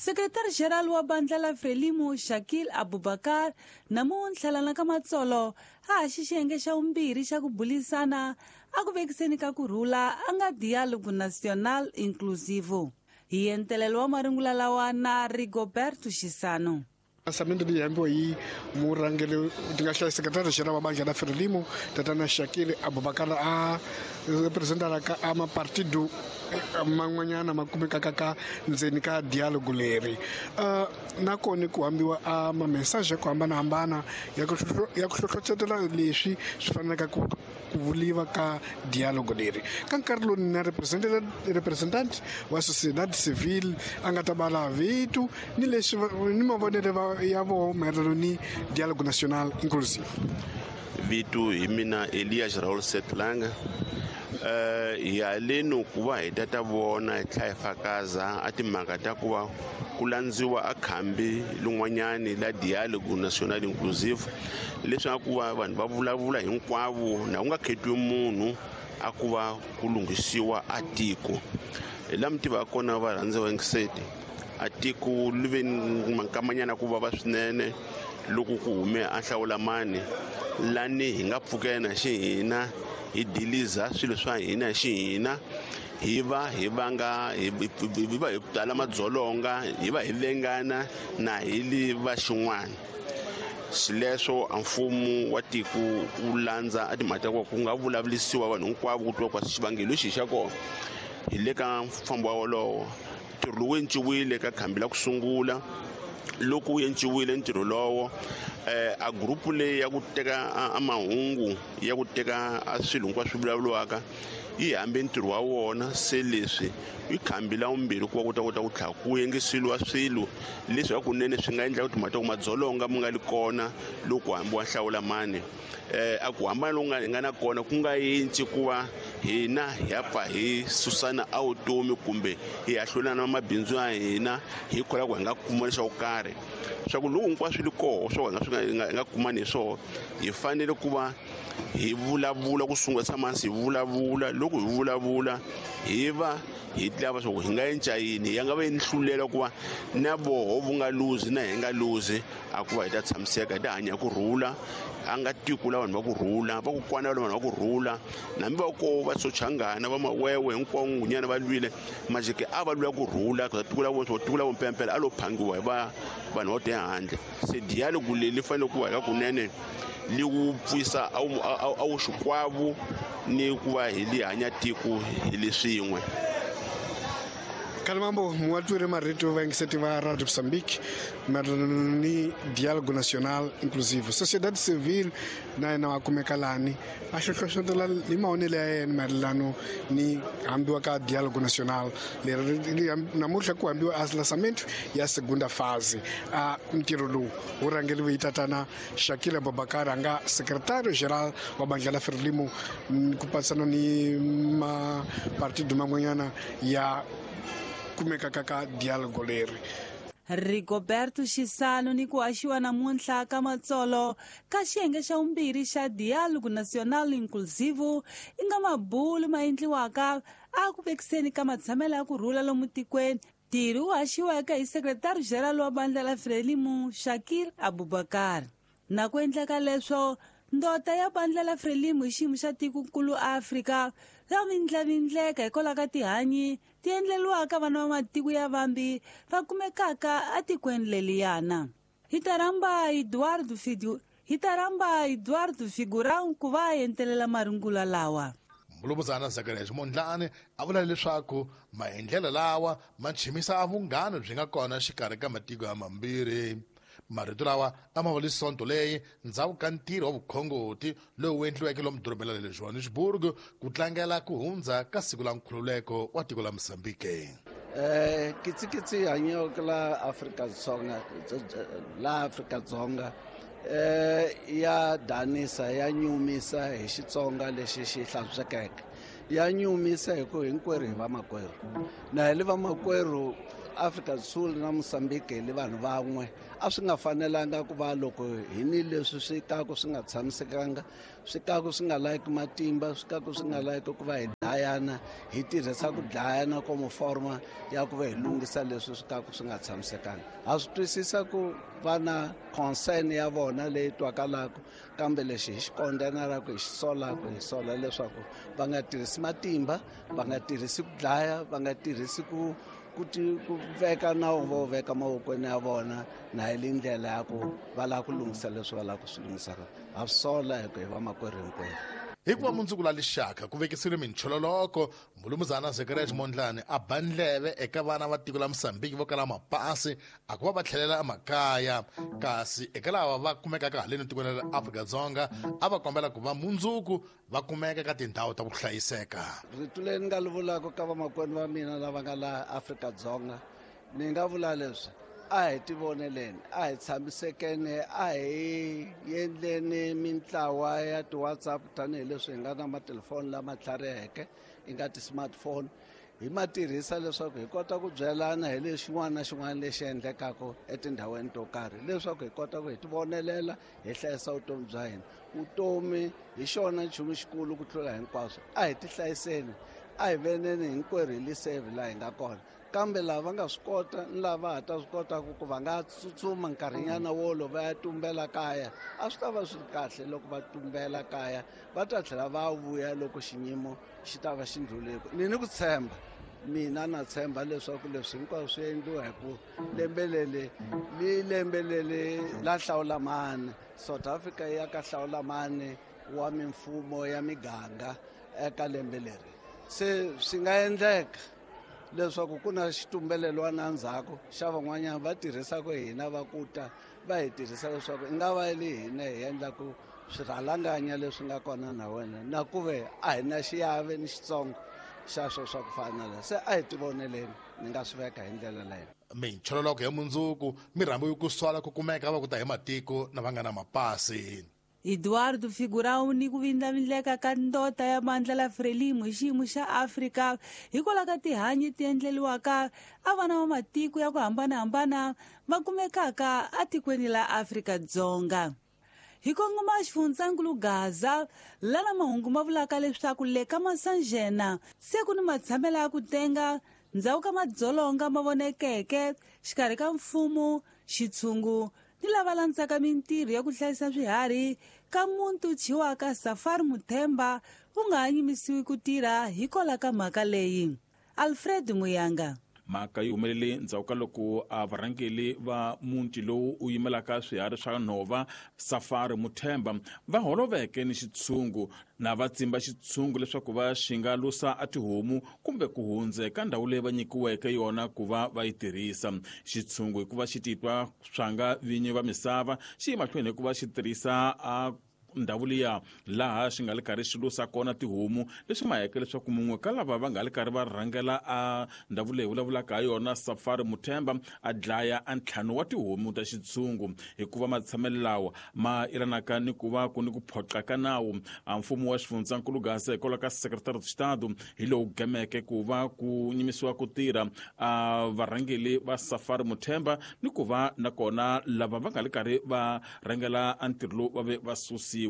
Sekretari-Geral wa bandla la Frelimo Shakil Abubakar namuntlha lana ka Matsolo a haxi xiyenge xa vumbirhi xa ku bulisana a ku vekiseni ka ku rhula a nga Diálogo Nacional Inclusivo. Hi entelelo wa marungula lawa na Rigoberto Xisano. Lançamento leyi hambiwa hi murhangeri ti nga hlaya sekretari general wa bandla la Frelimo tatana Shakil Abubakar a representaraka a mapartido man'wanyana ma kumekaka ka ndzeni ka dialogue leri. Nakona ku hambiwa a ma-message ya ku hambanahambana ya ku ya ku hlohlotela leswi swi fanelaka ku ku vuliwa ka dialogue leri. Ka nkarhi lowu na representant wa sociedad civil a nga ta bala vito ni leswi ni mavonelo ya voho mayelana ni dialogue national inclusive. Vito hi mina Elias Raul Setlanga. Hi haleni ku va hi ta vona hi tlhela hi fakaza a timhaka ta ku va ku landziwa a khambi lin'wanyani la dialogue national inclusive, leswaku va vanhu va vulavula hinkwavo na ku nga khetiwi munhu a ku va ku lunghisiwa a tiko. Hi la mi tivaka kona varhandziwa yingiseti, a tiko li ve ni mankamanyana ku vava swinene loko ku hume a hlawulamani lani hi nga pfukena xi hina hi diliza swilo swa hina xi hina, hi va hi vanga hi va hi tala madzolonga, hi va hi vengana na hi li va xin'wana. Xileswo a mfumo wa tiko wu landza a timhaka ta ku nga vulavulisiwa vanhu hinkwavo ku twiwa kwa xivangelo lexi xa kona. Hi le ka mfambo wa wolowo ntirho lowu enciwile ka khambi la ku sungula. Loko wu enciwile ntirho lowo, a group leyi ya ku teka a mahungu ya ku teka a swilo hinkwaswo swi vulavuriwaka yi hambe ntirho wa wona. Se leswi i khambi la vumbirhi ku va ku ta kota ku tlhela ku yingiseriwa swilo leswi hakunene swi nga endla ku timhaka ta ku madzolonga mi nga li kona loko hambiwa hlawula mani. A ku hambana loku nga hi nga na kona ku nga yintshi ku va hina hi ya pfa hi susana a vutomi kumbe hi ya hlulana mabindzu ya hina hi kholwa ku hi nga kuma leswaku karhi swa ku loko hinkwaswo li koho swa ku hi nga swi nga hi nga kumani hi swona, hi fanele ku va hi vulavula ku sungula tshama hansi hi vulavula. Loko hi vulavula hi va hi lava swa ku hi nga endla yini, ya nga va yi ni hlulela ku va na voho vu nga luzi na hi nga luzi, a ku va hi ta tshamiseka, hi ta hanya ku rhula. A nga tiko la vanhu va ku rhula, va ku kwana la vanhu va ku rhula, nambi va koho va sochangana va mawewe hinkwavo ngunyana va lwile majike a va lwela ku rhula ku tiko la vona, tiko la vo mpempela a lo phangiwa hi va vanhu va te handle. Se dialogue leyi li fanele ku va hi ka kunene li wu pfisa a wu xikwavo ni ku va hi li hanya tiko hi le swin'we. Kalimambo muwatwire marito vayingiseti va Radio Mozambique mayelana ni Dialogue National Inclusive. Sociedade Civile na yena wa kumeka lani a hlohlotela hi mavonelo ya yena mayelana ni hambiwa ka Dialogue National leri namuntlha ku hambiwa a lançamento ya segunda fase. A ntirho lowu wu rhangeriwe hi tatana Shakil Abubakar a nga secretario general wa bandla la Frelimo ku patsana ni mapartido man'wanyana ya kumekaka ka dialogue leri. Rigoberto Xisano ni ku haxiwa namuntlha ka Matsolo ka xiyenge xa vumbirhi xa Dialogue Nacional Inclusivo i nga mabulu ma endliwaka a ku vekiseni ka matshamelo ya ku rhula lomu tikweni. Ntirho wu haxiweke hi sekretari general wa bandla la Frelimo Shakil Abubakar. Na ku endleka leswo ndota ya bandla la Frelimo hi xiyimo xa tikokulu Afrika ya vindlavindleka hikwalaho ka tihanyi ti endleriwaka vana va matiko ya vambi va kumekaka etikweni leliyana. Hi ta rhamba Eduardo Fidu, hi ta rhamba Eduardo Figurão ku va a entelela marungula lawa. Mulumuzana Zacharias Mondlane a vula leswaku maendlelo lawa ma chimisa a vunghana byi nga kona xikarhi ka matiko ya mambirhi. Marito lawa a ma vuli sonto leyi ndzhaku ka ntirho wa vukhongoti lowu endliweke lomu dorobeni ra le Johannesburg ku tlangela ku hundza ka siku la nkhululeko wa tiko la Mozambique. Kitsikitsi hanyeke la Afrika-Dzonga, la Afrika-Dzonga ya danisa, ya nyumisa hi Xitsonga lexi xi hlantswekeke. Ya nyumisa hi ku hinkwerhu hi vamakwerhu. Na hi le vamakwerhu Afrika do Sul na Mozambique hi vanhu van'we. A swi nga fanelanga ku va loko hi ni leswi swi kaku swi nga tshamisekanga, swi kaku swi nga layiki matimba, swi kaku swi nga layiki ku va hi dlayana, hi tirhisa ku dlayana komo forma ya ku va hi lunghisa leswi swi kaku swi nga tshamisekanga. Ha swi twisisa ku va na concern ya vona leyi twakalaka, kambe lexi hi xi kondenelaka, hi xi solaka, hi sola leswaku va nga tirhisi matimba, va nga tirhisi ku dlaya, va nga tirhisi ku veka nawu vo veka mavokweni ya vona na hi le ndlela ya ku va lava ku lunghisa leswi va lava ku swi lunghisaka. Ha swi sola hi ku hi vamakwerhu hinkwerhu. Hikuva mundzuku la lixaka ku vekisiwile minchololoko, Mulumuzana Zacharias Mondlane a ba ndleve eka vana va tiko la Mozambique vo kala mapasi a ku va va tlhelela emakaya, kasi eka lava va kumekaka haleni tikweni ra Afrika-Dzonga a va kombela ku va mundzuku va kumeka ka tindhawu ta ku hlayiseka. Rito leri ni nga li vulaka ka vamakwenu va mina lava nga laha Afrika-Dzonga, ni nga vula leswi: a hi tivoneleni, a hi tshamisekeni, a hi endleni mintlawa ya ti-WhatsApp tanihileswi hi nga na matelefoni lama tlhariheke, i nga ti-smartphone, hi ma tirhisa leswaku hi kota ku byelana hi lexin'wana na xin'wana lexi endlekaka etindhawini to karhi, leswaku hi kota ku hi tivonelela, hi hlayisa vutomi bya hina. Vutomi hi xona nchumu xikulu ku tlula hinkwaswo. A hi tihlayiseni, a hi veneni hinkwerhu hi lisave laha hi nga kona. Kambe lava va nga swi kota ni lava va ha ta swi kotaka ku va nga tsutsuma nkarhinyana wolo va ya tumbela kaya, a swi ta va swi ri kahle loko va tumbela kaya, va ta tlhela va vuya loko xinyimo xi ta va xi ndluleko. Ni ku tshemba, mina na tshemba leswaku leswi hinkwaswo swi endliwa hi ku lembe leri li lembe leri la hlawulamani, South Africa ya ka hlawulamani wa mimfumo ya miganga eka lembe leri. Se swi nga endleka leswaku ku na xitumbelelwana endzhaku xa van'wanyana va tirhisaka hina, va ku ta va hi tirhisa leswaku i nga va le hina hi endlaku swirhalanganya leswi nga kona na wena, na ku ve a hi na xiave ni xitsongo xa swo swa ku fana na. Se a hi tivoneleni, ni nga swi veka hi ndlela leyo. Minchololoko ya mundzuku mi rhambiwe ku sola ku kumeka va ku ta hi matiko na va nga na mapasi. Eduardo Figurão ni ku vindlavindleka ka ndota ya bandla la Frelimo hi xiyimo xa Afrika hikwalaho ka tihanyi ti endleriwaka a vana va matiko ya ku hambanahambana va kumekaka atikweni la Afrika-Dzonga. Hi kongoma xifundzankulu Gaza, lana mahungu ma vulaka leswaku le ka Masanjena se ku ni matshamelo ya ku tenga ndzhaku ka madzolonga ma vonekeke xikarhi ka mfumo, xitshungu ni lava landzaka mintirho ya ku hlayisa swiharhi ka muntu thyiwaka Safari Muthemba wu nga ha yimisiwi ku tirha hikwalaho ka mhaka leyi. Alfred Muyanga. Mhaka yi humelele ndzhaku ka loko a varhangeri va muti lowu u yimelaka swiharhi swa nhova Safari Muthemba va holoveke ni xitshungu na va tsimba xitshungu leswaku va xi nga lusa a tihomu kumbe ku hundza ka ndhawu leyi va nyikiweke yona ku va va yi tirhisa. Xitshungu hikuva xi titwa swa nga vinyi va misava xi ye mahlweni hikuva xi tirhisa a ndhawu liya laha xi nga le karhi xi lusa kona tihomu, leswi maheke leswaku mun'we ka lava va nga le karhi va rhangela a ndhawu leyi vulavulaka ha yona Safari Muthemba a dlaya a ntlhanu wa tihomu ta xitshungu. Hikuva matshamelo lawa ma yelanaka ni ku va ku ni ku phoqa ka nawu, a mfumo wa xifundzankulu Gaza hikwalaho ka Secretary of Estado hi lowu gemeke ku va ku nyimisiwa ku tirha a varhangeri va Safari Muthemba ni ku va nakona lava va nga le karhi va rhangela a ntirho lowu va ve va susiwa.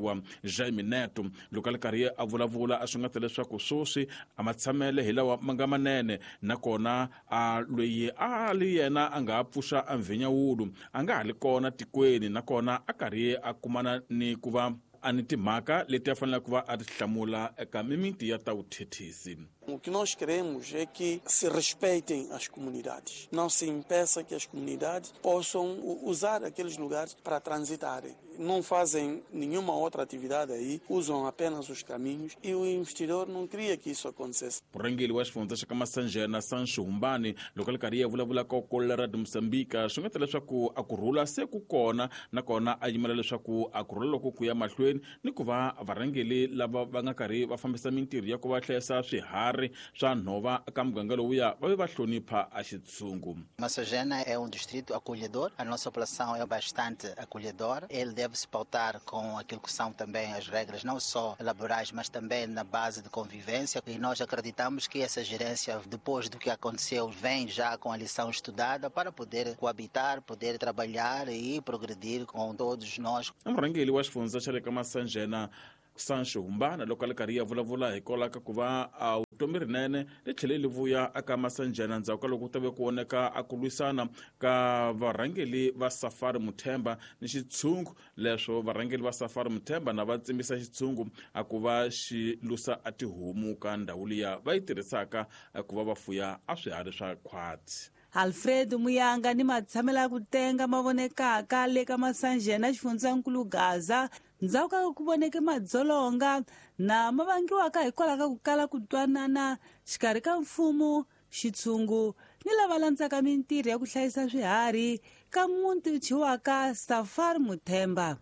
Jaime Neto loko a le karhi a vulavula a swi nga ta leswaku sweswi a matshamele hi lawa ma nga manene, nakona a loyi a li yena a nga ha pfuxa a mvhinyawulu a nga ha li kona tikweni, nakona a karhi a kumana ni ku va a ni timhaka leti a faneleke ku va a ti hlamula eka mimiti ya ta vuthethisi. O que nós queremos é que se respeitem as comunidades. Não se impeça que as comunidades possam usar aqueles lugares para transitarem. Não fazem nenhuma outra atividade aí, usam apenas os caminhos e o investidor não queria que isso acontecesse. Murhangeri wa xifundza xa ka Masanjena Sancho Humbani loko a ri karhi a vulavula ka Kolera de Moçambique swi nga ta leswaku a ku rhula se ku kona, nakona a yimela leswaku a ku rhula loko ku ya mahlweni ni ku va varhangeri lava va nga karhi va fambisa mintirho ya ku va hlayisa swiharhi swiharhi swa nhova ka muganga lowuya va ve va hlonipha a xitshungu. Massangena é um distrito acolhedor, a nossa população é bastante acolhedora. Ele deve se pautar com aquilo que são também as regras, não só laborais, mas também na base de convivência. E nós acreditamos que essa gerência, depois do que aconteceu, vem já com a lição estudada para poder coabitar, poder trabalhar e progredir com todos nós. Murhangeri wa xifundza xa le ka Massangena Sancho Humbana loko a le karhi ya vulavula hikwalaho ka ku va a vutomi rinene ri tlhele li vuya aka Massangena ndzhaku ka loko ku ta ve ku voneka a ku lwisana ka varhangeri va Safari Muthemba ni xitshungu. Leswo varhangeri va Safari Muthemba na va tsimbisa xitshungu a ku va xi lusa a tihomu ka ndhawu liya va yi tirhisaka ku va va fuya a swiharhi swa khwatsi. Alfredo Muyanga ni matshamelo ya ku tenga ma vonekaka le ka Massangena xifundzankulu Gaza ndzhaku ka ku voneke madzolonga na ma vangiwaka hikwalaho ka ku kala ku twanana xikarhi ka mfumo, xitshungu ni lava landzaka mintirho ya ku hlayisa swiharhi ka muti wu thyiwaka Safari Muthemba.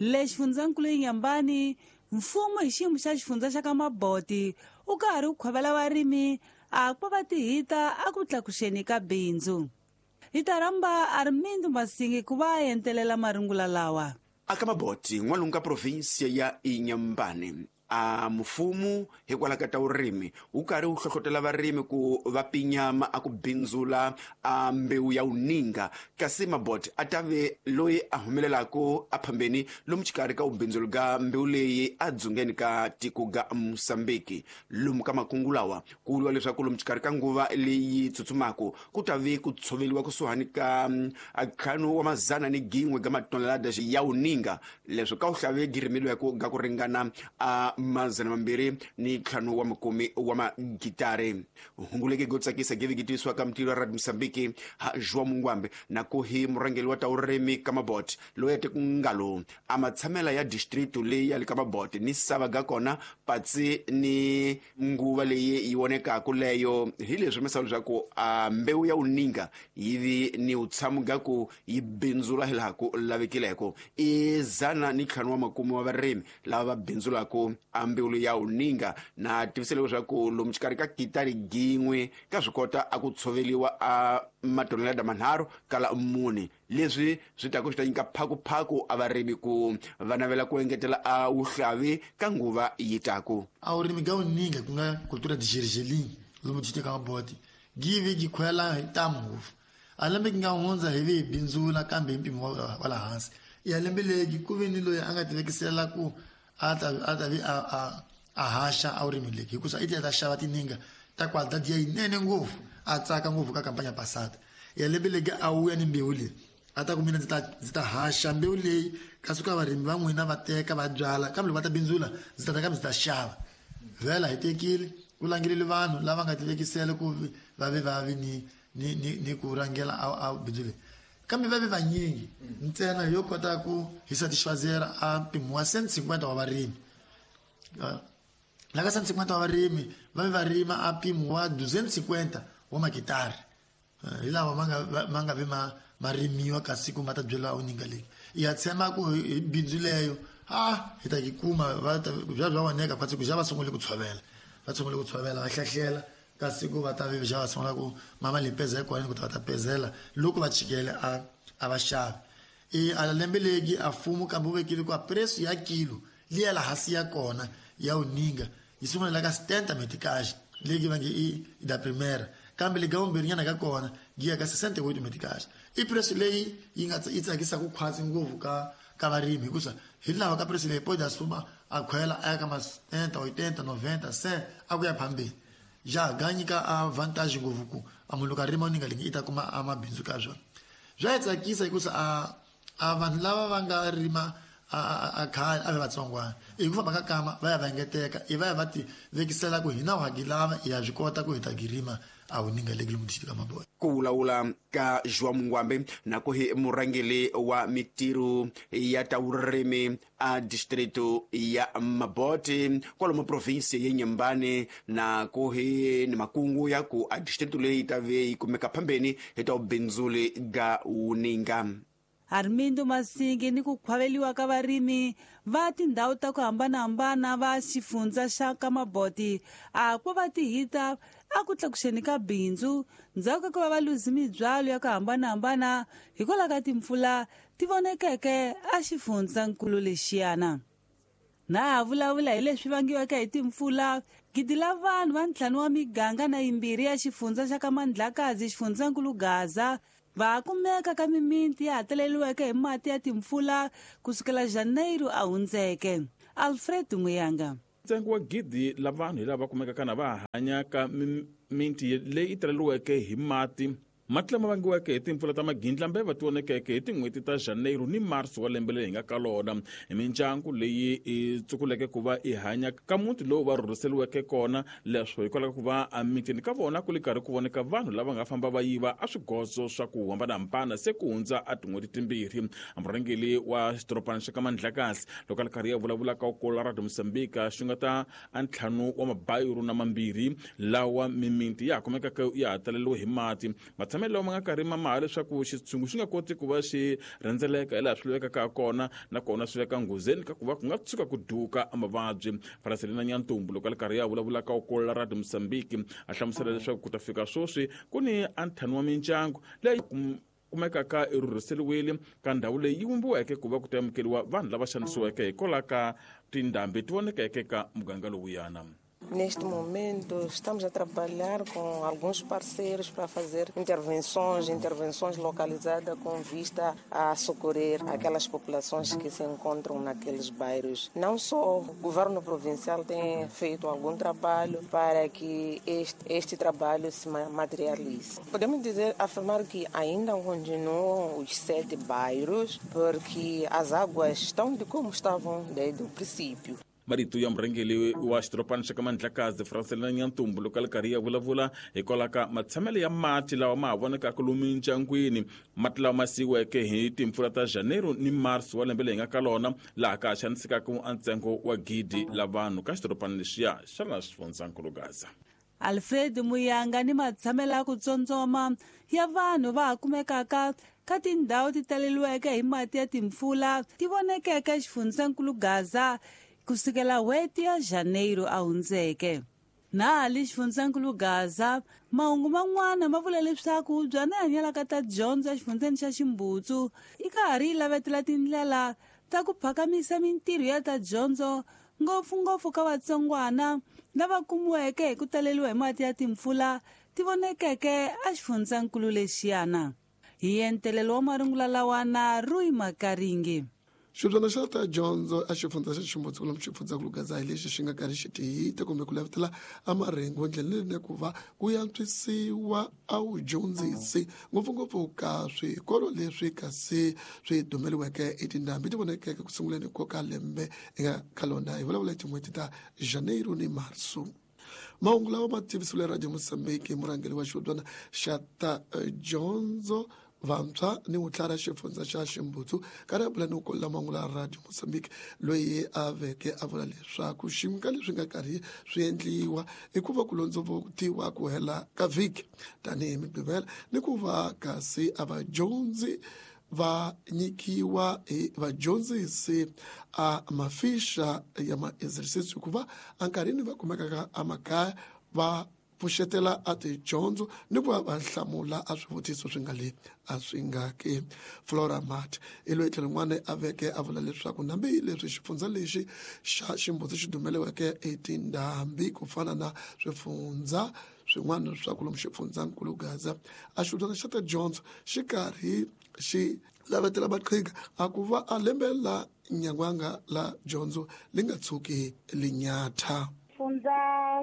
Le xifundzankulu Inhambane, mfumo hi xiyimo xa xifundza xa ka Maboti wu karhi wu khwavela varimi a ku va tihita a ku tlakuxeni ka bindzu. Hi ta rhamba Armindo Masingi ku va a entelela marungula lawa. Aka Maboti n'walungu ka provinsia ya Inhambane, a mfumo hikwalaho ka ta vurimi wu karhi wu hlohlotela varimi ku va pinyama a ku bindzula a mbewu ya wuninga, kasi Maboti a ta ve loyi a humelelaka a phambeni lomu xikarhi ka vubindzuli ka mbewu leyi a dzungeni ka tiko ga Mosambiki. Lomu ka makungu lawa ku vuriwa leswaku lomu xikarhi ka nguva leyi tsutsumaka ku ta ve ku tshoveliwa kusuhani ka 501 ga matonelada ya wuninga, leswo ka wuhlave girimeliweke ga ku ringana a 250 wa magitare. Hunguleke go tsakisa gevikitiswa ka mutilo wa Radio Mosambiki ha João Mungwambe na ku hi murhangeri wa ta vurimi ka Maboti loyi a te ku ngalo a matshamela ya distrito leyi ya le ka Maboti ni sava ga kona patsi ni nguva leyi yi vonekaka leyo hi leswi misava leswaku a mbewu ya wuninga yi vi ni vutshamo ga ku yi bindzula hilaha ku lavekileko. I 150 wa varimi lava va bindzulaka a mbewu ya wuninga na tivisele leswaku lomu xikarhi ka kitari gin'we ka swi kota a ku tshoveliwa a matonelada manharhu kala 4, leswi swi ta ku swi ta nyika phakuphaku a varimi ku va navela ku engetela a wuhlavi ka nguva yi taku. A vurimi ga wuninga ku nga cultura de gergelim lomu distrito ka Maboti give gi khwela hi ntamu ngopfu. A lembe gi nga hundza hi vi hi bindzula kambe hi mpimo wa le hansi. Ya lembe legi ku ve ni loyi a nga tivekisela ku a ta vi a haxa a vurimi legi hikusa i ta xava tininga ta qualidade ya yinene ngopfu, a tsaka ngopfu ka kampanya pasada. Ya lembe legi a wuya ni mbewu leyi a ta ku mina ndzi ta haxa mbewu leyi kasi ka varimi va n'wina va teka va byala, kambe loko va ta bindzula ndzi ta ta kambe ndzi ta xava. Vhela hi tekile ku langelele vanhu lava nga tivekisela ku va ve va vi ni ku rhangela a bindzu leyi, kambe va ve vanyingi ntsena yo kota ku hi satisfazera a mpimo wa 150 wa varimi. La ka 150 wa varimi va ve va rima a mpimo wa 250 wa makitari hi lawa ma nga vi ma rimiwa kasi ku ma ta byela wuninga leyi. Ya tshemba ku hi bindzu leyo a hi ta yi kuma bya bya voneka khwatsi ku xa va sungule ku tshovela, va sungule ku tshovela va hlahlela kasi ku va ta vi xa va sungula ku mama limpeza hi kona ku ta va ta pezela loko va chikele a va xavi. I a lembe legi a mfumo kambe wu vekile ku a preço ya kilo liya la hansi ya kona ya wuninga yi sungula la ka 70 meticais legi va nge i da primeira, kambe le ga vumbirhinyana ka kona gi ya ka 68 meticais. I preço leyi yi nga yi tsakisaka khwatsi ngopfu ka varimi hikusa hi lava ka preço leyi pode asuma a khwela a ya ka ma 70, 80, 90, 100 a ku ya phambeni. Ja ga nyika a vantage ngopfu ku a munhu loko a rima wuninga leyi i ta kuma a mabindzu ka swona. Bya yi tsakisa hikusa a vanhu lava va nga rima a khale a ve vatsongwana hi ku famba ka kama va ya va engeteka i va ya va ti vekisela ku hina wa gi lava ya swi kota ku hi ta gi rima a wuninga legi lomu distrito ka Maboti. Ku vulavula ka João Mungwambe na ku hi murhangeri wa mitirho ya ta vurimi a distrito ya Maboti kwalomu provinsi ya Inhambane na ku hi ni makungu ya ku a distrito leyi ta ve yi kumeka phambeni hi ta vubindzuli ga wuninga. Armindo Masingi ni ku khwaveliwa ka varimi va tindhawu ta ku hambanahambana va xifundza xa ka Maboti a ku va tihita a ku tlakuxeni ka bindzu ndzhaku ka ku va va luzi mibyalo ya ku hambanahambana hikwalaho ka timpfula ti vonekeke a xifundzankulu lexiyana. Na ha vulavula hi leswi vangiweke hi timpfula, gidi la vanhu va 5 wa miganga na 2 ya xifundza xa ka Mandlakazi xifundzankulu Gaza va kumeka ka mimiti ya hakeleriweke hi mati ya timpfula kusukela Janeiro a hundzeke. Alfred Muyanga. Ntsengo wa gidi la vanhu hi lava kumekaka na va hanya ka mimiti leyi taleriweke hi mati. Mati lama vangiweke hi timpfula ta magindlambeva ti vonekeke hi tin'hweti ta Janeiro ni Marso wa lembe leri hi nga ka lona. Hi mindyangu leyi i tsukuleke ku va i hanya ka muti lowu va rhurhiseriweke kona, leswo hikwalaho ka ku va emitini ka vona ku li karhi ku voneka vanhu lava nga famba va yiva a swigozo swa ku hambanahambana se ku hundza a tin'hweti timbirhi. Murhangeri wa xidorobana xa ka Mandlakazi loko a li karhi ya vulavula ka Ukolo Radio Mozambique xi nga ta a 5 wa mabayiro na 2 lawa mimiti ya ha kumekaka ya ha taleriwe hi mati. Matshamelo lawa ma nga karhi ma maha leswaku xitshungu xi nga koti ku va xi rhendzeleka hi laha swi lavekaka kona, nakona swi veka nghozini ka ku va ku nga tshuka ku duka mavabyi. Francelina Nyantumbu loko a li karhi ya vulavula ka Ukolo Radio Mozambique a hlamusela leswaku ku ta fika sweswi ku ni a 5 wa mindyangu leyi kumekaka i rhurhiseriwile ka ndhawu leyi yi vumbiweke ku va ku ta amukeriwa vanhu lava xanisiweke hikwalaho ka tindhambi ti vonekeke ka muganga lowuyana. Neste momento, estamos a trabalhar com alguns parceiros para fazer intervenções localizadas com vista a socorrer aquelas populações que se encontram naqueles bairros. Não só o governo provincial tem feito algum trabalho para que este trabalho se materialize. Podemos afirmar que ainda continuam os 7 bairros, porque as águas estão de como estavam desde o princípio. Marito ya murhangeri wa xidorobana xa ka Mandlakazi Francelina Nyantumbu loko a li karhi ya vulavula hikwalaho ka matshamelo ya mati lawa ma ha vonekaka lomu mindyangwini, mati lawa ma siyiweke hi timpfula ta Janeiro ni Marso wa lembe leyi nga ka lona, laha ka ha xanisekaka a ntsengo wa gidi la vanhu ka xidorobana lexiya xa laha xifundzankulu Gaza. Alfred Muyanga ni matshamelo ya ku tsondzoma ya vanhu va ha kumekaka ka tindhawu ti taleriweke hi mati ya timpfula ti vonekeke xifundzankulu Gaza kusukela n'hweti ya Janeiro a hundzeke. Na le xifundzankulu Gaza, mahungu man'wana ma vula leswaku byana hanyalaka ta dyondzo exifundzeni xa Ximbutsu i ka ha ri yi lavetela tindlela ta ku phakamisa mintirho ya ta dyondzo ngopfungopfu ka vatsongwana lava kumiweke hi ku taleriwa hi mati ya timpfula ti vonekeke exifundzankulu lexiyana. Hi entelelo wa marungula lawa na Rui Makaringi. Xibyana xa ta dyondzo a xifundza xa Ximbutsu lomu xifundzankulu Gaza hi lexi xi nga karhi xi tihita kumbe ku lavetela a marhengu ndlela leyinene ku va ku antswisiwa a wudyondzisi ngopfungopfu ka swikolo leswi kasi swi dumeliweke hi tindhambi ti vonekeke ku sunguleni ko ka lembe eka ka lona hi vulavula hi tin'hweti ta Janeiro ni Marso. Mahungu lawa ma tivisiwile Radio Mozambique murhangeri wa xibyana xa ta dyondzo vantshwa ni vutlhari xifundza xa Ximbutsu karhi a bula ni ku mahungu la Radio Mozambique loyi a veke a vula leswaku xin'we ka leswi nga karhi swi endliwa i ku va ku londzovutiwa ku hela ka vhiki tanihi Mugqivela ni ku va kasi a vadyondzi va nyikiwa hi vadyondzisi a mafixa ya ma-exercise hikuva enkarhini va kumekaka emakaya va pfuxetela a tidyondzo ni ku va va hlamula a swivutiso swi nga le a swi nga ke. Flora Mat i loyi tlhelo rin'wana a veke a vula leswaku nambi leswi xifundza lexi xa Ximbutsu xi dumeliweke hi tindhambi ku fana na swifundza swin'wana swa ku lomu xifundzankulu Gaza, a xibyana xa ta dyondzo xi karhi xi lavetela maqhinga a ku va a lembe la nyangwanga la dyondzo li nga tshuki linyatha. Xifundza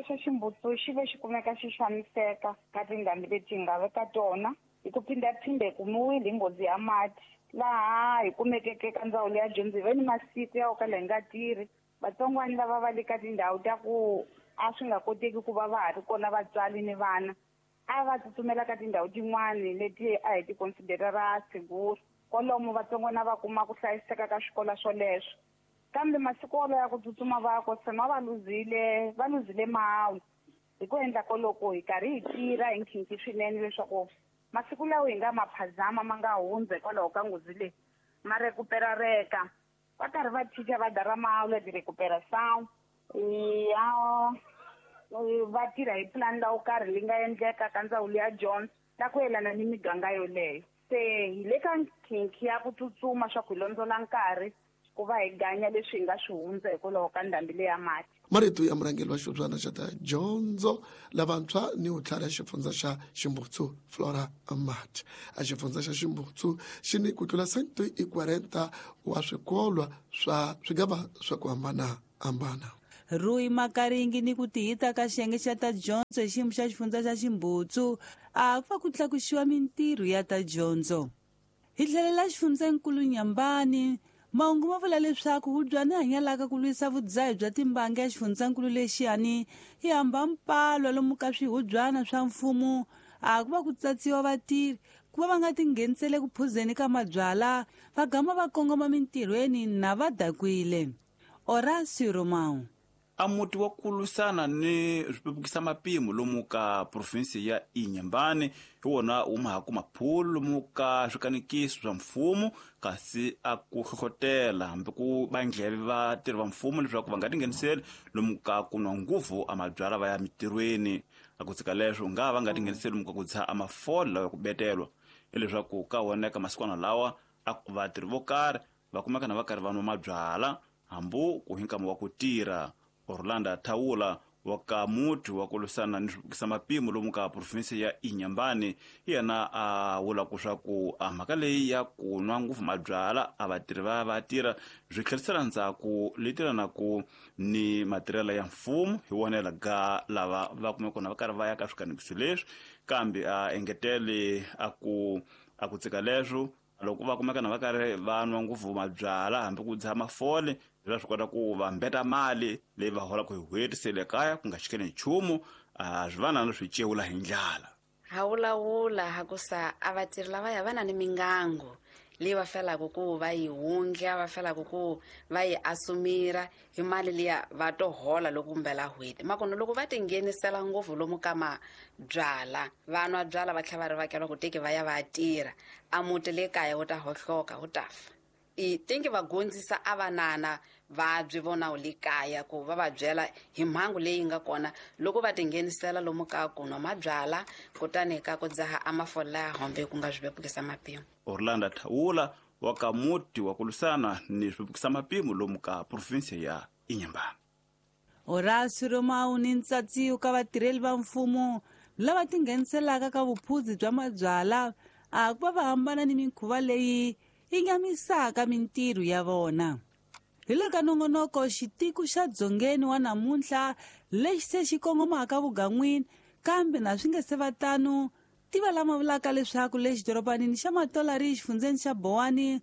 xa Ximbutsu xi ve xi kumeka xi xaniseka ka tindhambi leti hi nga ve ka tona hi ku phindaphinda hi kumiwile hi nghozi ya mati laha hi kumekeke ka ndzawulo ya dyondzo hi ve ni masiku ya ku kala hi nga tirhi. Vatsongwana lava va le ka tindhawu ta ku a swi nga koteki ku va va ha ri kona vatswari ni vana a va tsutsumela ka tindhawu tin'wani leti a hi ti considerera seguro kwalomu vatsongwana va kuma ku hlayiseka ka swikolo swoleswo. Kambe masiku wolowo ya ku tsutsuma va ko tshama va luzile mahawu hi ku endla koloko hi karhi hi tirha hi nkhinkhi swinene leswaku masiku lawa hi nga maphazama ma nga hundza hikwalaho ka nghozi leyi ma recuperareka. Va karhi va chicha va dara ma-aula de recuperação ya va tirha hi pulani la wo karhi leyi nga endleka ka ndzawulo ya dyondzo ta ku yelana ni miganga yoleyo. Se hi le ka nkhinkhi ya ku tsutsuma swa ku hi londzola nkarhi ku va hi ganya leswi hi nga swi hundza hikwalaho ka ndhambi leya mati. Marito ya murhangeri wa xihubyana xa ta dyondzo lavantshwa ni vutlhari ya xifundza xa Ximbutsu Flora Mat. A xifundza xa Ximbutsu xi ni ku tlula 140 wa swikolwa swa swigava swa ku hambanahambana. Rui Makaringi ni ku tihita ka xiyenge xa ta dyondzo hi xiyimo xa xifundza xa Ximbutsu a ku va ku tlakusiwa mintirho ya ta dyondzo. Hi tlhelela xifundzankulu Nyambani, mahungu ma vula leswaku hubyani hanyalaka ku lwisa vudzahi bya timbangi ya xifundzankulu lexiyani yi hamba mpalwa lomu ka swihubyana swa mfumo a ku va ku tsatsiwa vatirhi ku va va nga tinghenisele ku phuzeni ka mabyala va gama va kongoma mintirhweni na va dakwile. Horacio Romão. A muti wa ku lwisana ni swipepukisa mapimo lomu ka provinsi ya Inhambane hi wona wu ma ha ku maphulu lomu ka swikanekiso swa mfumo, kasi a ku hlohlotela hambi ku va ndleve vatirhi va mfumo leswaku va nga tingheniseli lomu ka ku nwa nguvu a mabyala va ya mintirhweni. A ku tshika leswo nga va nga tingheniseli lomu ka ku dzaha a mafole lawa ya ku betelwa, hileswaku ka wona eka masikwana lawa a vatirhi vo karhi va kumeka na va karhi va nwa mabyala hambi ku hi nkama wa ku tirha. Orlando Thaula wa ka muti wa ku lwisana ni swipukisa mapimo lomu ka provinsi ya Inhambane yena a vula ku swa ku a mhaka leyi ya ku nwa ngopfu mabyala a vatirhi va va tirha swi tlherisela ndzhaku leyi tirhanaku ni matirhelo ya mfumo hi wona ga lava va kumeka kona va karhi va ya ka swikanekiso leswi. Kambe a engetele a ku tsika leswo loko va kumeka na va karhi va nwa ngopfu mabyala hambi ku dzaha mafole va swi kota ku va mbeta mali leyi va holaka hi n'hweti se le kaya ku nga xikeli nchumu, a swi va na swi cewula hi ndlala. Ha vulavula ha ku sa a vatirhi lavaya va na ni mingango leyi va felaka ku va yi wundla, va felaka ku va yi asumira hi mali liya va to hola loko kumbela n'hweti. Makona loko va tinghenisela ngopfu lomu ka mabyala, va nwa byala va tlhela va ri vakela ku teki va ya va tirha, a muti le kaya wu ta hohloka wu ta fa. I tingi va gondzisa a vanana vabyi vona le kaya ku va va byela hi mhangu leyi nga kona loko va tinghenisela lomu ka ku nwa mabyala kutani ka ku dzaha a mafola ya hombe ku nga swivepukisa mapimo. Orlando Thaula wa ka muti wa ku lwisana ni swivepukisa mapimo lomu ka provinsi ya Inhambane. Horacio Romão ni ntsatsiwo ka vatirheli va mfumo lava tingheniselaka ka vuphuzi bya mabyala a ku va va hambana ni mikhuva leyi yi nyamisaka mintirho ya vona. Hi le ka nongonoko xitiko xa dzongeni wa namuntlha lexi se xi kongomaka vugan'wini, kambe na swi nge se va tano tiva lama vulaka leswaku le xidorobanini xa Matolari xifundzeni xa Bowani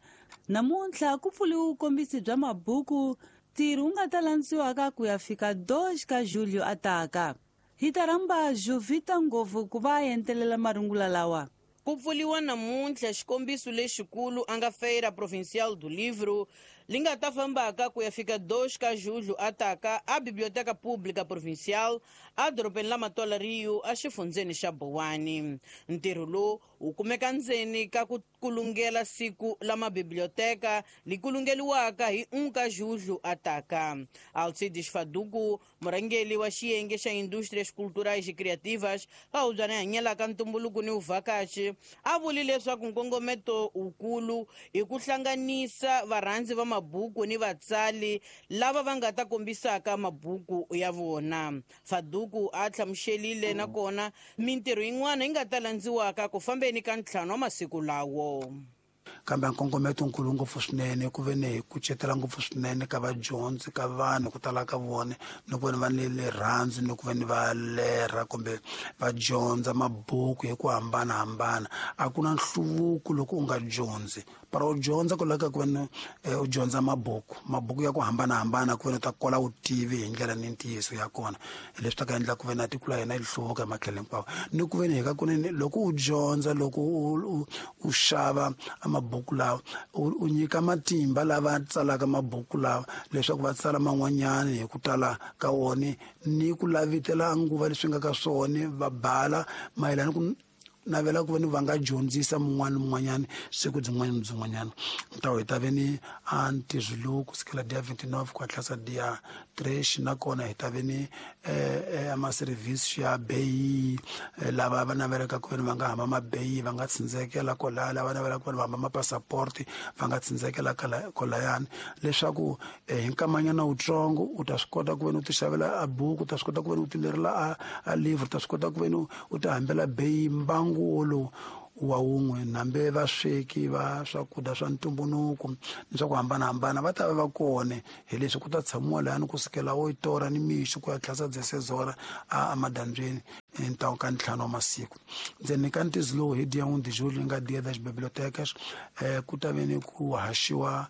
namuntlha ku pfuriwe vukombisi bya mabuku, ntirho wu nga ta landziwaka ku ya fika 2 ka Julio ataka. Hi ta rhamba Jovita Ngopfu ku va a entelela marungula lawa. Ku pfuriwa namuntlha xikombiso lexikulu a nga Feira Provincial do Livro li nga ta fambaka ku ya fika 2 ka julho ataka a Biblioteca Pública Provincial a dorobeni la Matola Rio a xifundzeni xa Bowani. Ntirho lowu wu kumeka ndzeni ka ku kulungela siku la mabiblioteka li kulungeliwaka hi 1 ka julho ataka. Alcides Faduku, murhangeri wa xiyenge xa Indústrias Culturais e Criativas ka hubyana hanyelaka ntumbuluko ni vuvhakachi, a vuli leswaku nkongometo wukulu i ku hlanganisa varhandzi va mabuku ni vatsali lava va nga ta kombisaka mabuku ya vona. Faduku a hlamuselile nakona mintirho yin'wana yi nga ta landziwaka ku fambeni ka 5 wa masiku lawo. Kambe nkongometo nkulu ngopfu swinene ku ve ni hi kucetela ngopfu swinene ka vadyondzi ka vanhu ku tala ka vona ni ku ve ni va ni rirhandzu ni ku ve ni va lerha kumbe va dyondza mabuku hi ku hambanahambana. A ku na nhluvuko loko u nga dyondzi, para u dyondza ku laveka ku ve ni u dyondza mabuku ya ku hambanahambana ku ve ni u ta kola vutivi hi ndlela ni ntiyiso ya kona, leswi ta ka endla ku ve na tiko la hina yi hluvuka hi matlhelo hinkwawo. Ni ku ve ni hi ka kunene loko u dyondza, loko u xava mabuku lawa, u nyika matimba lava tsalaka mabuku lawa leswaku va tsala man'wanyana hi ku tala ka wona ni ku lavitela nguva leswi nga ka swona, va bala mayelana ku navela ku veni va nga dyondzisa mun'wana mun'wanyana siku byin'wana ni byin'wanyana. Ntawo hi ta ve ni a ntirho lowu kusukela dia 29 ku hatlasa dia 3, nakona hi ta ve ni ama-service ya beyi, lava va navelaka ku veni va nga hamba mabeyi va nga tsindzekela kwalaya, lava navelaka ku veni va hamba mapassaporti va nga tsindzekela kwalayani, leswaku hi nkamanyana wutsongo u ta swi kota ku veni u ti xavela a buku, u ta swi kota ku veni u ti lerela a livre, u ta swi kota ku veni u ti hambela beyi mbangu wolowu wa wun'we. Nambe vasweki va swakudya swa ntumbuluko ni swa ku hambanahambana va ta va va kona, hi leswi ku ta tshamiwa lahani kusukela 8 ora ni mixo ku ya tlhasa 16 ora a madyambyeni ntawu ka 5 wa masiku. Ndzeni ka ntizo lowu hi dia 1 de julho nga dia das bibliotecas, ku ta ve ni ku haxiwa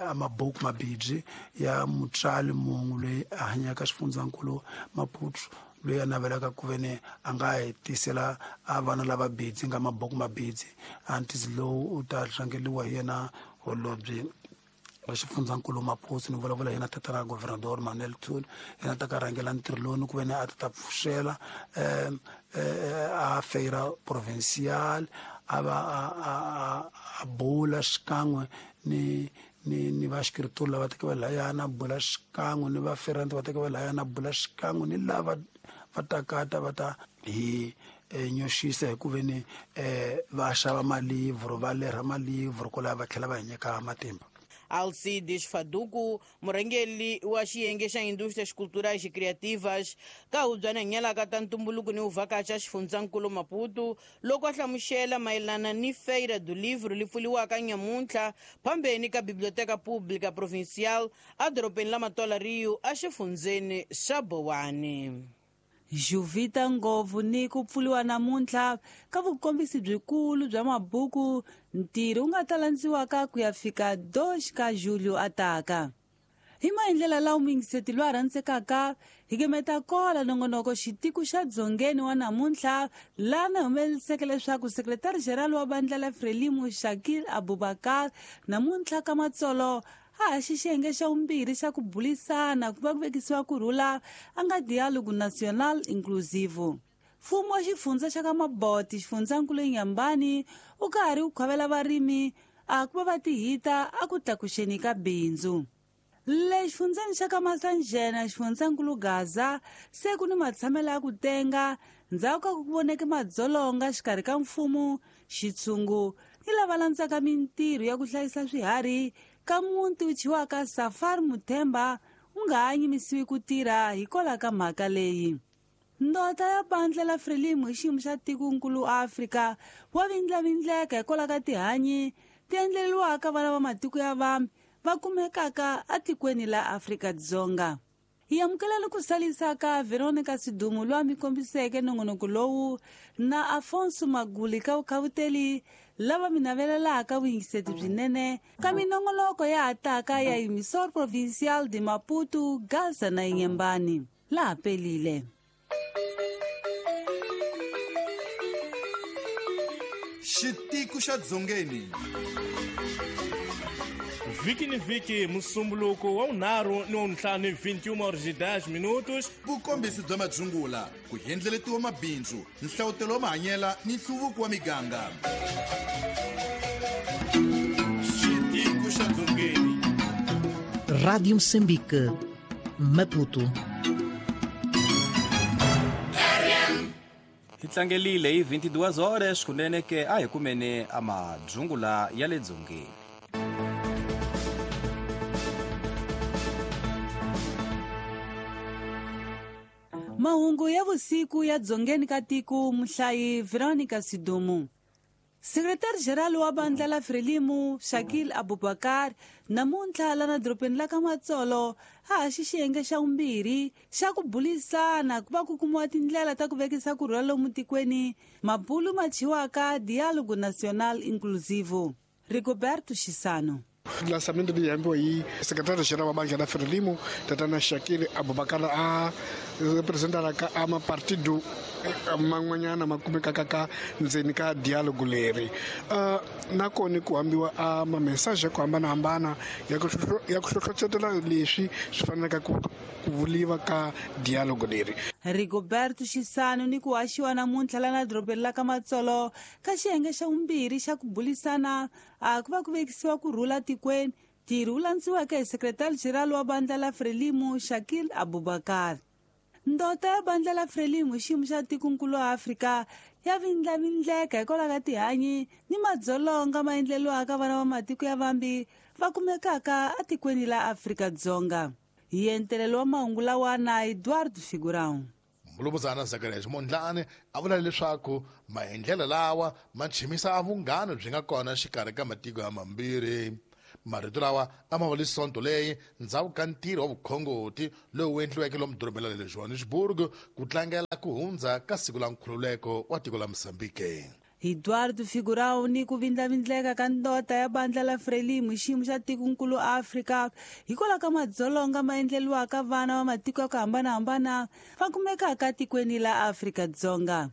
a mabuku mabibyi ya mutswari munhu loyi a hanyaka xifundzankulu Maputo, loyi a navelaka ku ve ni a nga hi tisela a vana lava bidzi nga mabuku mabidzi. A ntizo lowu u ta rhangeriwa hi yena holobye wa xifundzankulu Maputo, ni vulavula hi yena tatana Governador Manuel Thuli, yena ta ka rhangela ntirho lowu ni ku ve ni a ta pfuxela a feira provincial, a va a bula xikan'we ni va xikritori lava teke va layana, bula xikan'we ni va ferante va teke va layana, bula xikan'we ni lava va takata va ta hi nyoxisa hi ku ve ni va xava malivhro, va lerha malivhro kwalaho va tlhela va hi nyika matimba. Alcides Faduku, murhangeri wa xiyenge xa Indústrias Culturais e Criativas ka hubyana nyelaka ta ntumbuluko ni uvhakacha xifundzankulu Maputo, loko a hlamusela mayelana ni Feira do Livro li pfuliwaka nyamuntlha phambeni ka Biblioteca Pública Provincial edorobeni la Matola Rio exifundzeni xa Bowani. Juvita Ngovu ni ku pfuliwa namuntlha ka vukombisi byikulu bya mabuku, ntirho wu nga ta landziwaka ku ya fika 2 ka julho ataka. Hi maendlela lawa muyingiseti loyi a rhandzekaka hi gemeta kola nongonoko xitiko xa dzongeni wa namuntlha, laha na humeleliseke leswaku sekretari general wa vandla la Frelimo Shakil Abubakar namuntlha ka matsolo a haxi xiyenge xa vumbirhi xa ku bulisana ku va ku vekisiwa kurhula a nga Diálogo Nacional Inclusivo. Mfumo wa xifundza xa ka Maboti xifundzankulu Inhambane u karhi wu khovela varimi a ku va va tihita a ku tlakuxeni ka bindzu. Le xifundzeni xa ka Masanjena xifundzankulu Gaza se ku ni matshamelo ya ku tenga ndzhaku ka ku voneke madzolonga xikarhi ka mfumo, xitshungu ni lava landzaka mintirho ya ku hlayisa swiharhi ka muti wu thyiwaka Safari Muthemba wu nga ha yimisiwi ku tirha hikwalaho ka mhaka leyi. Ndota ya bandla la Frelimo hi xiyimo xa tikonkulu Afrika wa vindlavindleka hikwalaho ka tihanyi ti endleriwaka vana va matiko ya vambe va kumekaka etikweni la Afrika-Dzonga. Hi amukela ni ku salisaka Veronica Sidumo loyi a mi kombiseke nongonoko lowu na Afonso Maguli ka vukhavuteli lava mi navelelaka vuyingiseti byinene ka minongonoko ya hataka ya Emissor Provincial de Maputo, Gaza na Inhambane. Laha pelile. Xitiko xa Dzongeni. Vhiki ni vhiki musumbuluko wa 5 ni wa 5 21h10. Vukombisi bya madzungula, ku hendleletiwa mabindzu, nhlawutelo wa mahanyela ni nhluvuko wa miganga. Xitiko xa Dzongeni. Rádio Moçambique, Maputo. Hi tlangelile hi 22 horas kunene ke a hi kumene amadzungula ya le dzongeni. Mahungu ya vusiku ya dzongeni ka tiko, muhlayi Veronica Sidumo. Sekretari General wa bandla la Frelimo Shakil Abubakar namuntlha lana dorobeni la ka Matsolo a haxi xiyenge xa vumbirhi xa ku bulisana ku va ku kumiwa tindlela ta ku vekisa kurhula lomu tikweni, mabulu ma thyiwaka Diálogo Nacional Inclusivo. Rigoberto Chisano. Lançamento leyi hambiwa hi sekretari general wa bandla la Frelimo tatana Shakil Abubakar a representaraka a mapartido man'wanyana ma kumekaka ka ndzeni ka dialogue leri. Nakona ku hambiwa a ma-message ya ku hambanahambana ya ku hlohlotela leswi swi fanelaka ku vuliwa ka dialogue leri. Rigoberto Xisano ni ku haxiwa namuntlha lana dorobeni la ka Matsolo ka xiyenge xa vumbirhi xa ku bulisana a ku va ku vekisiwa ku rhula tikweni, ntirho wu landziweke hi sekretari general wa bandla la Frelimo Shakil Abubakar. Ndota ya bandla la Frelimo xiyimo xa tikonkulu wa Afrika ya vindlavindleka hikwalaho ka tihanyi ni madzolonga ma endleriwaka vana va matiko ya vambi va kumekaka etikweni la Afrika-Dzonga. Hi entelelo wa mahungu lawa na Eduardo Figurão. Mulumuzana Zacharias Mondlane a vula leswaku maendlelo lawa ma chimisa vunghana byi nga kona xikarhi ka matiko ya mambirhi. Marito lawa a ma vuli Sonto leyi ndzhaku ka ntirho wa vukhongoti lowu endliweke lomu dorobeni ra le Johannesburg ku tlangela ku hundza ka siku la nkhululeko wa tiko la Mozambique. Eduardo Figurão ni ku vindlavindleka ka ndota ya bandla la Frelimo xiyimo xa tikonkulu Afrika hikwalaho ka madzolonga ma endleriwaka vana va matiko ya ku hambanahambana va kumekaka tikweni la Afrika-Dzonga.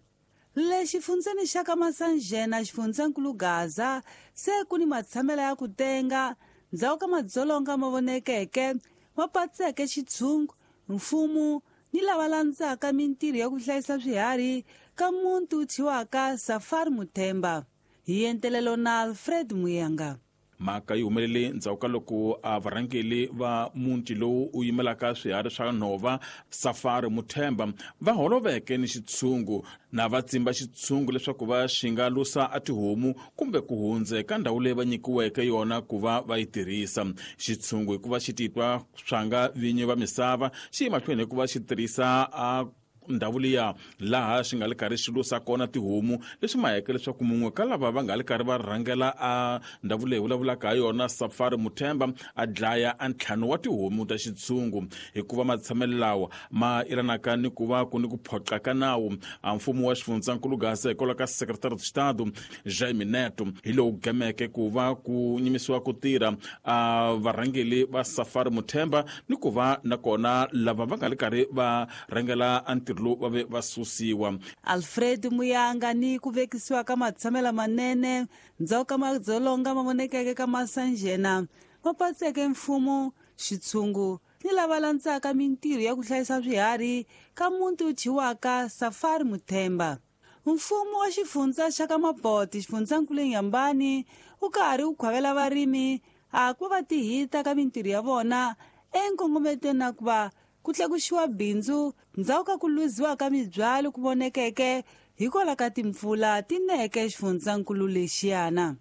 Le xifundzeni xa ka Masanjena xifundzankulu Gaza se ku ni matshamelo ya ku tenga ndzhaku ka madzolonga ma vonekeke ma patseke xitshungu, mfumo ni lava landzaka mintirho ya ku hlayisa swiharhi ka muti wu thyiwaka Safari Muthemba. Hi entelelo na Alfred Muyanga. Mhaka yi humelele ndzhaku ka loko a varhangeli va muti lowu u yimelaka swiharhi swa nhova Safari Muthemba va holoveke ni xitshungu na va tsimba xitshungu leswaku va xi nga lusa a tihomu kumbe ku hundza eka ndhawu leyi va nyikiweke yona ku va va yi tirhisa. Xitshungu hikuva xi titwa swa nga vinyi va misava xi yi mahlweni hikuva xi tirhisa a ndhawu liya laha xi nga le karhi xi lusa kona tihomu, leswi maheke leswaku mun'we ka lava va nga le karhi va rhangela a ndhawu leyi vulavulaka ha yona Safari Muthemba a dlaya a ntlhanu wa tihomu ta xitshungu. Hikuva matshamelo lawa ma yelanaka ni ku va ku ni ku phoqa ka nawu a mfumo wa xifundzankulu Gaza hikwalaho ka Secretary of Estado Jaime Neto hi lowu gameke ku va ku nyimisiwa ku tirha a varhangeli va Safari Muthemba ni ku va nakona lava va nga le karhi va rhangela a ntirho lowu va ve va susiwa. Alfred Muyanga ni ku vekisiwa ka matshamelo manene ndzhaku ka madzolonga ma vonekeke ka Masanjena ma patseke mfumo, xitshungu ni lava landzaka mintirho ya ku hlayisa swiharhi ka muti wu thyiwaka Safari Muthemba. Mfumo wa xifundza xa ka Maboti xifundzankulu Inhambane wu karhi wu khwavela varimi a ku va tihita ka mintirho ya vona enkongometweni na ku va ku tlakuxiwa bindzu ndzhaku ka ku luziwa ka mibyalo ku vonekeke hikwalaho ka timpfula ti neke xifundzankulu lexiyana.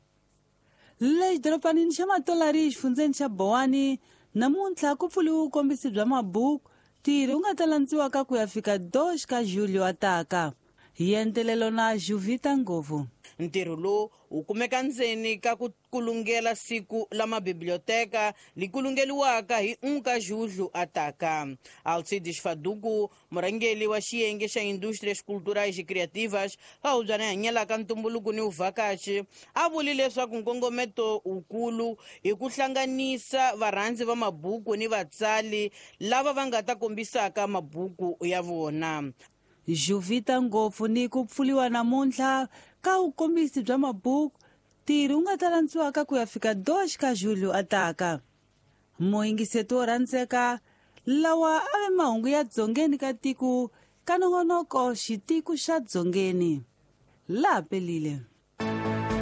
Le xidorobanini xa Matolari xifundzeni xa Bowani namuntlha ku pfuriwe vukombisi bya mabuku ntirho wu nga ta landziwaka ku ya fika 2 ka Julio ataka. Hi entelelo na Juvita Ngovu. Ntirho lowu wu kumeka ndzeni ka ku kulungela siku la mabiblioteka li kulungeliwaka hi 1 ka Julho ataka. Alcides Faduku, murhangeri wa xiyenge xa Indústrias Culturais e Criativas, a hubyana hanyelaka ntumbuluko ni vuvhakachi, a vuli leswaku nkongometo wukulu hi ku hlanganisa varhandzi va mabuku ni vatsali lava va nga ta kombisaka mabuku ya vona. Juvita Ngopfu ni ku pfuriwa namuntlha ka vukombisi bya mabuku ntirho wu nga ta landziwaka ku ya fika 2 ka Julio ataka. Muyingiseti wo rhandzeka lawa a ve mahungu ya dzongeni ka tiko ka nongonoko xitiko xa dzongeni. Laha pelile.